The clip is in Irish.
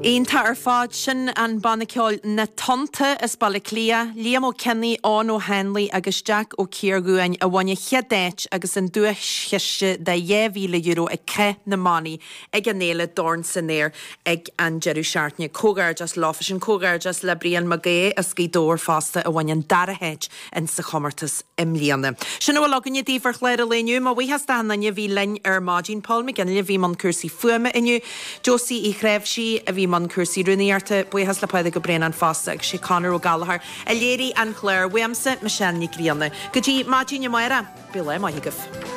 Iontach ar fad. Sin an banna ceoil Na Tonnta as Baile Átha Cliath, Liam Ó Cionnaith, Eoin Ó hAnluain agus Jack Ó Ciardhuáin a bhain an chéad áit agus an duaischiste de €2,000 ag Cath na mBannaí ag an fhéile Dorn san Aer ag an deireadh seachtaine. Comhghairdeas leofa sin. Comhghairdeas le Brian Mac Aodha as Gaoth Dobhair fosta a bhain an dara háit in sa chomórtas i mbliana. Sin a bhfuil againne daoibh ar chlár an lae inniu. Mo bhuíochas d'achan duine a bhí linn ar maidin. Paul McGinley a bhí i mbun cúrsaí fuaime inniu. Josie Uí Chnáimhsí a bhí i mbun cúrsaí rúnaíochta. Buíochas le Pádraig Ó Braonáin fosta agus sé Conor Ó Gallchóir a léirigh an clár. Uaimse, Michelle Nic Grianna. Go dtí maidin amárach, bíodh lá maith agaibh.